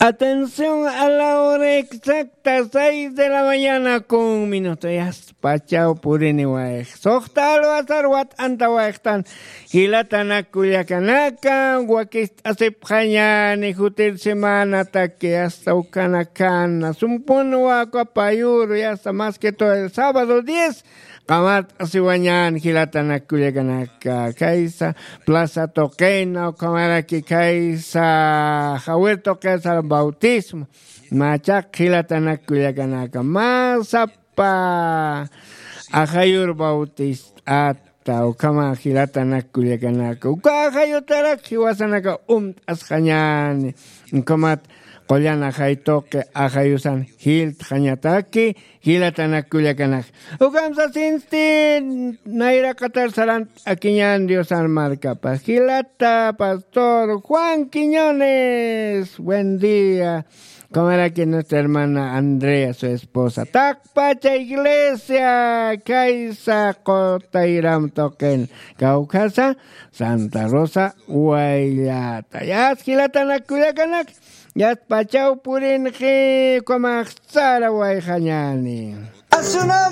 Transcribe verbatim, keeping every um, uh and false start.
Atención, a la hora exacta, seis de la mañana con minuto. Yasta pachaw purini wayx. Suxta alwasar wat'anta wayxtan. Jilatanak kullakanaka, wakist'asipxañani jutir semanataki, yasta ukanakana. Sumpun waka payuru, yasta más que todo el sábado diez. Qamart'asiwañän jilatanak kullakanaka, kaysa plaza tuqina, ukhamaraki kaysa jawir tuqisa bautismo. Machaq jilatanak kullakanaka, mä sapa ajayur bautist'ata, ukhama jilatanak kullakanaka. Uka ajayutarak jiwasanaka umt'asxañäni. Ukhamat qullan ajay tuqi ajayusan jiltxañataki, jilatanak kullakanak. Ukham sasinsti nayraqatar sarant'akiñän Diosan markapa. Jilata pastor Juan Quiñones, buen día. Ukhamaraki nuestra hermana Andrea, su esposa. Taqpacha iglesia, kaysa qutayram tuqin. Kawkhasa Santa Rosa wayllata. Yas jilatanak kullakanak. Yasta pachaw purinxi, ukhamax sara wayxañäni. A su nombre.